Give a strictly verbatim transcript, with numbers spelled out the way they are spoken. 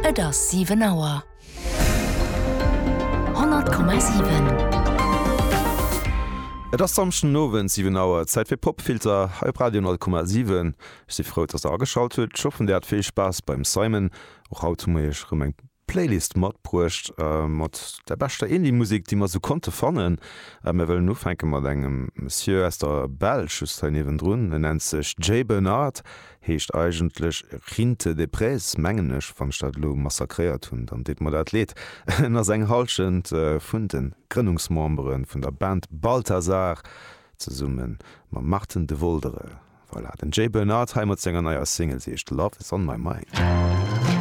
Et ass siwen Auer. Honnert Komma siwen. Et ass Samschden Owend siwen Auer, Zäit fir Popfilter hei op Radio honnert Komma siwen. Ech si frou, dass der ageschalt hutt. Ech hoffen, dir hat vill Spaass beim Simon. Och haut hu mer iech erëm eng Playlist matbruecht mat der beschter Indie-Musek, déi mer sou konnte fannen. Mir wëllen ufänke mat engem Monsieur aus der Belsch, just hei niewendrun. En nennt sech Jay Bernard, heescht eigentlech Rinte de Prez, mengen ech. Wann ech dat elo massakréiert hunn, dann deet mer dat leed. En ass eng Hallschent vun de Grënnungsmembere vun der Band Balthazar, zesumme mam Marten Devoldere. Voilà, den Jay Bernard hei mat senger neier Single, se heescht Love is on my mind.